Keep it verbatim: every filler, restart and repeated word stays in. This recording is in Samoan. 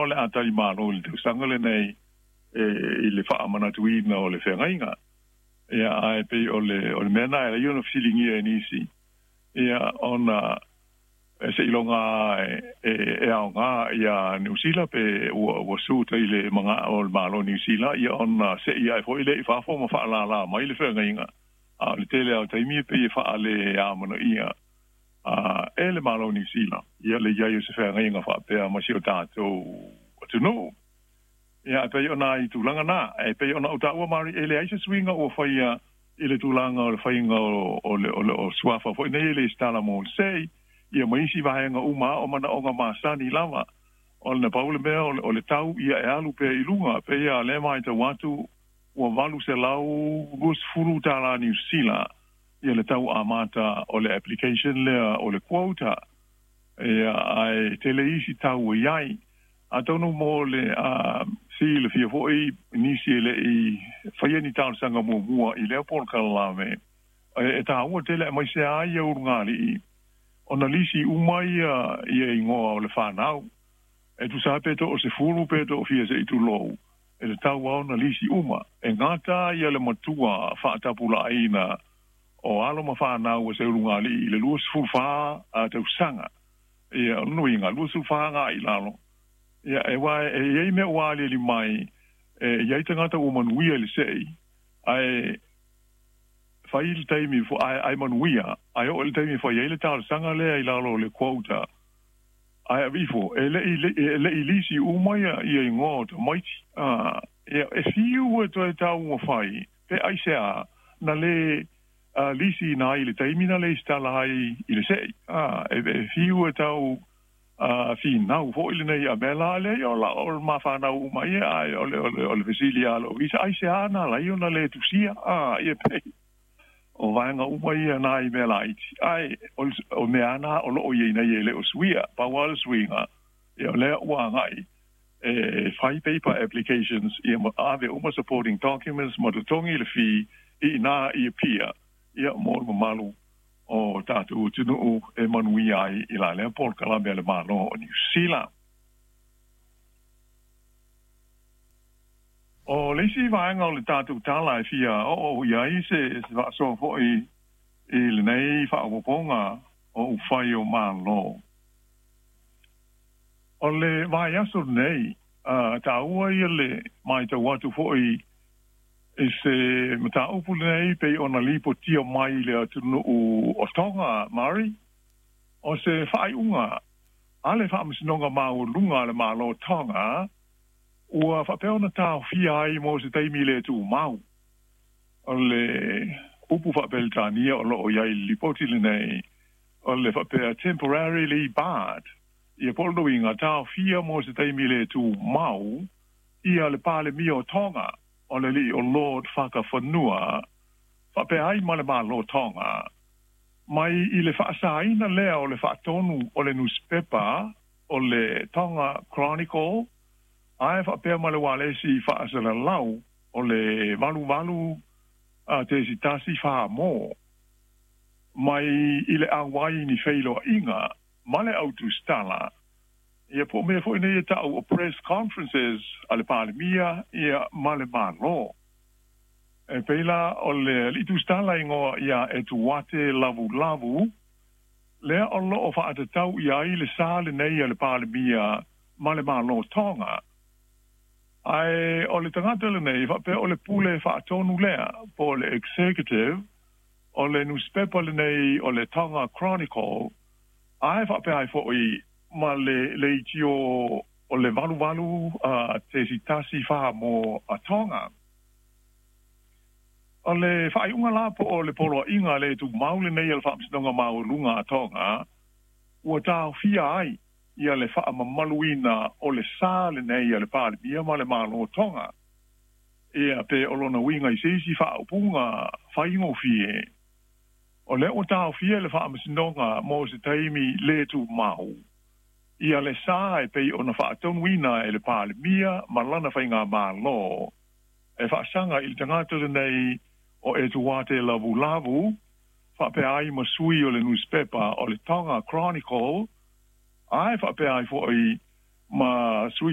o le a talimalo i le tausaga lenei e i le faamanatuina o le feagaiga. Ia ae pei o le o le mea na e ia ona fesiligia e nisi, ia ona e seiloga e e, e aoga ia Niu Sila pe ua ua suta i le maga o le Malo Niu Sila, ia ona se'i ae foi lea i fafo ma fa'alālā mai le feagaiga. A o le tele a o taimi e pei e fa'ale amanaia a e le Malo Niu Sila ia le iai o se feagaiga fa'apea ma si o tatou atunuu. Ia e pei ona i tulaga na e pei ona ou taua mari e leai se suiga ua faia i le tulaga o le faiga o o le o le o suafa foi nei e le stala mo le sei ia ma isi vaega uma o manaoga masani lava. O le pau le mea o le, o le tau ia e alu pea i luga pe ia le mai tau atu ua valu selau luasefulu tālā Niu Sila ia le tau amata o le application lea o le quota. Ia ae tele isi tau e iai atonu mo le a silafia foi nisi e le'i faia ni talosaga muamua i lea polokalame e, e tāua tele aemaise a ia ulugalii ona lisi uma ia ia igoa o le fanau e tusa pe to o se fulu pe to o fia se i tulou e le tau ona lisi uma e gata ia le matua fa'atapula'aina o alo ma fanau o se ulugalii i le luasefulu fā a tausaga. Ia o nuiga luasefulu fā ga'i lalo. Ia e wā e iai mea ua aliali mai e iai tagata ua manuia i le se'i ae fai le taimi fo ae ae manuia ae oo i le taimi fai ai le talosaga lea i lalo o le quota ae aveifo e le'i e le'i lisi uma ia ia igoa o tamaiti. A ia e fiu e toe taumafai pe aiseā na lē lisi ina ai i le taimi na le isitala ai i le se'i. A e, e fiu e tau a finau foi lenei a mea la lea o la o mafanau uma ia ae o le o le o le fesili a lou isa aiseā na ala ai ona lē tusia. A ia pei o vaega uma ia na i mea laiti ae o, o mea ana o loo iai nei e le o suia pau a le suiga. Ia o lea ua agai e fai paper applications ia ma ave uma supporting documents ma totogi le fee i ina i Apia ia mo le mamalu o tatou atunuu e manuia ai i la lea polokalame a le Malo o Niu Sila. O le isi vaega o le tatou tala e fia oo i ai se se faasoa foi i lenei faaopoopoga o upufai o Malo. O le vaiaso lenei, a taua ia le matau atu foi i se mataupu lenei pei ona lipotia mai i le atunuu o Tonga, Mari, o se faaiuga a le Faamasinoga Maualuga a le Malo o Tonga ua faapea ona taofia ai mo se taimi le tumau. O le upu faapeletania o loo i ai i le lipoti lenei o le faapea temporarily barred, ia po o le uiga taofia mo se taimi le tumau ia le Palemia o Tonga o le alii o Lord Fakafanua faapea ai ma le Malo o Tonga mai i le faasaina lea o le faatonu o le nusipepa o le Tonga Chronicle ae faapea ma le ualesi faasalalau o le valu valu a tesi tasi fā mō mai i le auai ni feiloaiga ma le autusitala ia po o mea foi nei e ta'u o press conferences a le Palemia ia ma le Malo. E pei la o le alii tusitala igoa ia Etuate Lavulavu lea o loo faatatau i ai le sa lenei a le Palemia ma le Malo Tonga. Ae o le tagata lenei faapea o le pule faatonu lea po o le executive o le nusipepa lenei o le Tonga Chronicle ae faapea ai foi ma le leitio o le valu valu a tesi tasi fā mō a Tonga. O le faaiuga la po o le poloaiga le tumau lenei a le Faamasinoga Maualuga a Tonga ua taofia ai ia le faamamaluina o le sa lenei a le Palemia ma le Malo o Tonga. Ia pe o lona uiga i se isi faaupuga faigofie, o lea ua taofia e le Faamasinoga mo se taimi le tumau ia le sa e pei ona faatonuina e le Palemia ma lana faigamalo e faasaga i le tagata lenei o Etuate Lavulavu faapea ai ma sui o le nusipepa o le Tonga Chronicle ae faapea ai foi ma sui